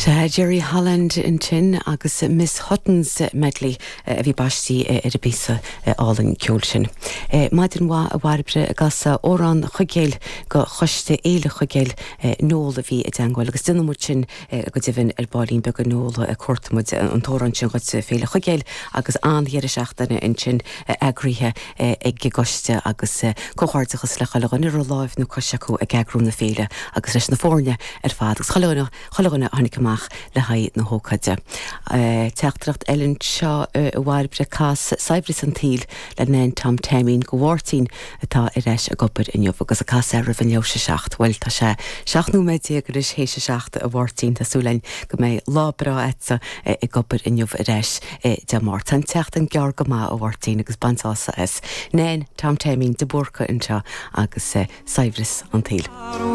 Sea, Jerry Holland ansin agus Miss Hutton's Medley a bhí baistí ar an bpíosa álainn ceoil sin. Maidin mhaith a Bhairbre ag casadh Amhrán Chuigéil go Choiste Fhéile Chuigéil, Noel a bhí i dteangmháil agus déanfaidh muid sin go deimhin ar baillín beag a Noel, cuartóidh muid an t-amhrán sin dhuit Féile Chuigéil agus an-dheireadh seachtaine ansin eagraithe ag an gcoiste agus comhghairdeachas le chuile dhuine a raibh láimh nó cois acu ag eagrú na féile agus leis na foirne ar fad agus chuile dhuine chuile dhuine a tháinig amach le haghaidh na hócáide. Teachtaireacht eile anseo a Bhairbre, cas Saibhreas an tSaoil le Nan Tom Taimín go Mháirtín atá ar ais ag obair inniu agus ag casadh é roimh an leathuair théis a 7. Bhuel, tá sé 17 nóiméad anois théis a 7 a Mháirtín, tá súil againn go mbeidh lá breá agatsa ag obair inniu ar ais Dé Máirt. Tá an tseachtain gearr go maith a Mháirtín agus bain sásamh as. Nan Tom Taimín de Búrca anseo agus Saibhreas an tSaoil.